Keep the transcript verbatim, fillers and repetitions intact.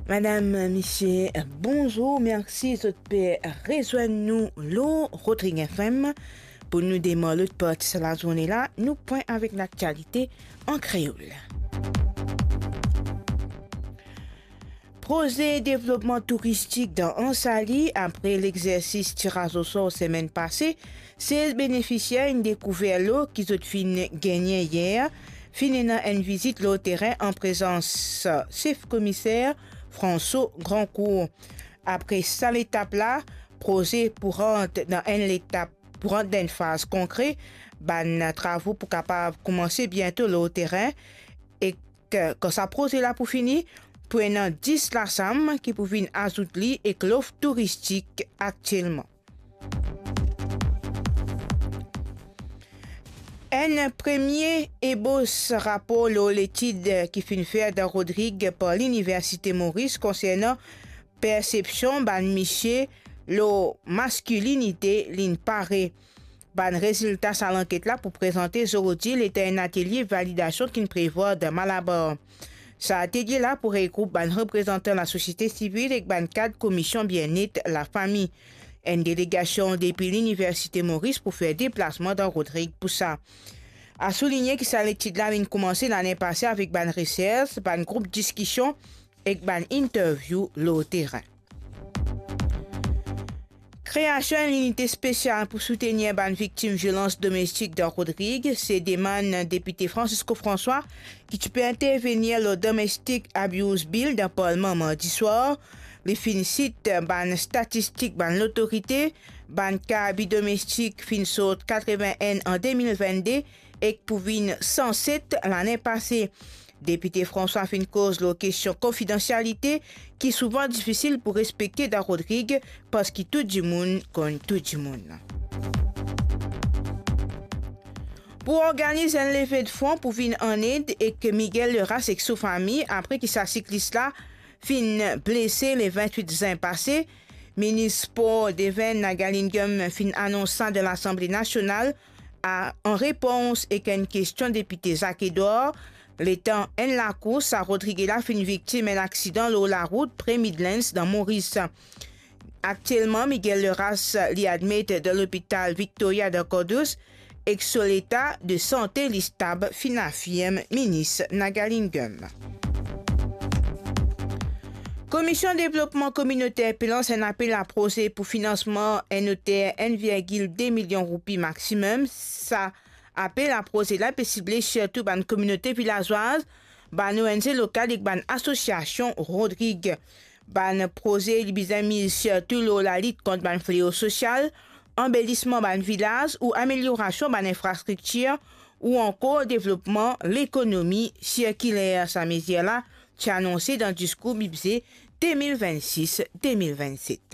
Madam, misie, bonzour, mersi zot pe rezwenn nou lor Rodrig F M. Pou nou demar lot parti sa lazourne la, nou pwin avek laktialite an kreol. Proze devlopman touristik dan Anse Ali, apre lexersis tiraz osor semenn pase, sez benefisier inn dekouver lo ki zot finn gagne yer, finn ena enn vizit lor terin an prezans sef komiser François Grandcourt. Apre sa letap la, proze pou rant dan enn letap, pou rant dan enn faz konkre, bann travo pou kapav koumanse biento lor terin, ek kan sa proze la pou fini, pou ena dis lasam ki pou vinn azout li ek lof touristik aktielman. Enn premie ebos rapor lor letid ki finn fer dan Rodrig par Liniversite Moris konsernan persepsion bann misie lor maskilinite, linn pare. Bann rezilta sa lanket la pou prezante zordi, letan enn atelie validasion ki'nn prevwar dan Malabar. Sa atelie la pou regroup bann reprezantan lasosiete sivil ek bann kad Komision Bienet Lafami. Enn delegasion depi Liniversite Moris pou fer deplasman dan Rodrig pou sa. A souligne ki sa letid la inn koumanse lane pase avek bann resers, bann group diskision ek bann interview lor terin. Kreasion enn linite spesial pou soutenir bann viktim violans domestik dan Rodrig, se demann depite Francisco François, ki ti pe intervenir lor Domestic Abuse Bill dan Parlman mardi swar. Li finn sit bann statistik bann lotorite, bann ka abi domestik finn sort katreven-enn an de mil vennde ek pou vinn san set lane pase. Depite François finn koz lor kestion konfidansialite ki souvan difisil pou respekte dan Rodrig, parski tou dimoun konn tou dimoun. Pou organiz enn leve de fon pou vinn an ed ek Miguel Leras ek so fami, apre ki sa siklis la finn blese le vintwit zin pase, Minis Spor Devin Nagalingam finn anons sa dan Lasanble Nasional, a, an repons ek enn kestion depite Zak Edwar, letan enn lakours a Rodrig la finn viktim enn aksidan lor larout pre Midlands dan Moris. Aktielman, Miguel Leras, li admet dan lopital Victoria dan Kordous, ek so leta de sante li stab, finn afirm Minis Nagalingam. Komision Devlopman Kominoter pe lans enn apel a proze pou finansman enn oter enn virgil de milion roupi maximum. Sa apel a proze la pe sible sirtou bann kominote vilazwaz, bann O N G lokal ek bann asosiasion Rodrig. Bann proze li bizin miz sirtou lor lalit kont bann fleo sosial, anbelisman bann vilaz ou ameliorasion bann infrastriktir ou ankor devlopman lekonomi sirkiler. Sa mezir la ti anonse dan diskour bidze de mil vennsis de mil vennset.